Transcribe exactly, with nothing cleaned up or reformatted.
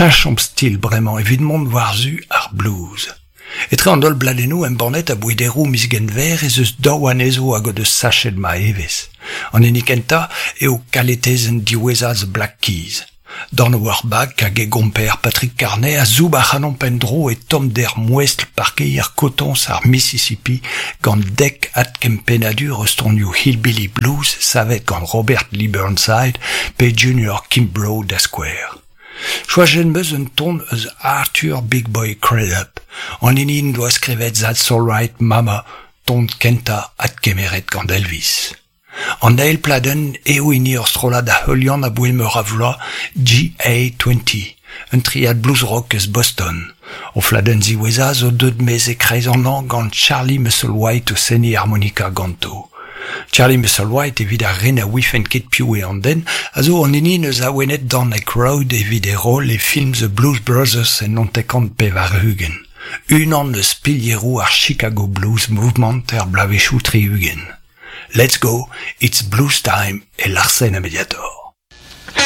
Cheñchomp stil bremañ evit mont war-zu ar blues. Etre an holl bladennoù embannet aboae deroù miz Genver ez eus daou anezho hag o deus sachet ma evezh. An hini kentañ eo kaletezenn diwezhañ The Black Keys. Dan Auerbach hag e gomper Patrick Carney a zoub ac'hanomp en-dro e tommder mouestl parkeier kotoñs ar Mississippi gant dek adkempennadur eus tonioù Hillbilly Blues savet gant Robert Lee Burnside pe Junior Kimbrough da skouer. Choajet 'm eus un ton eus Arthur Big Boy Crudup, an hini en doa skrivet That's All Right Mama, ton kentañ adkemeret gant Elvis. An eil pladenn eo hini ur strollad a heulian aboae meur a vloaz, G A twenty, un triad blues rock eus Boston. O fladenn ziwezhañ zo deuet maez e-kreiz an hañv gant Charlie Musselwhite o seniñ harmonika ganto. Charlie Musselwhite evit ar re na ouifent ket piv eo an den, a zo an hini n'eus awenet Dan Aykroyd evit e roll e film The Blues Brothers en naontek-kant pevar-ugent. Unan eus pilieroù ar Chicago Blues Movement er bloavezhioù tri-ugent. Let's go, it's blues time e Larsen a Mediator.